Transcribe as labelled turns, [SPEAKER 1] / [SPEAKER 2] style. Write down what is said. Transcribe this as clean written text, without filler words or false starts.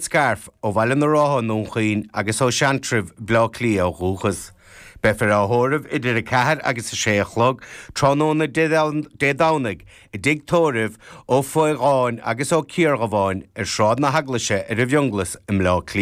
[SPEAKER 1] Scairf, ó Bhaile na Rátha i nDún Chaoin agus ó Seantrabh, Bleá Cliath ó dhúchas. Beifear á thórramh idir 4 agus 6 a chlog tráthnóna Dé Domhnaigh i dtigh tórraimh Ó Faodháin agus Ó Ciardhubháin ar Shráid na hEaglaise ar an bhFionnghlas i mBleá Cliath.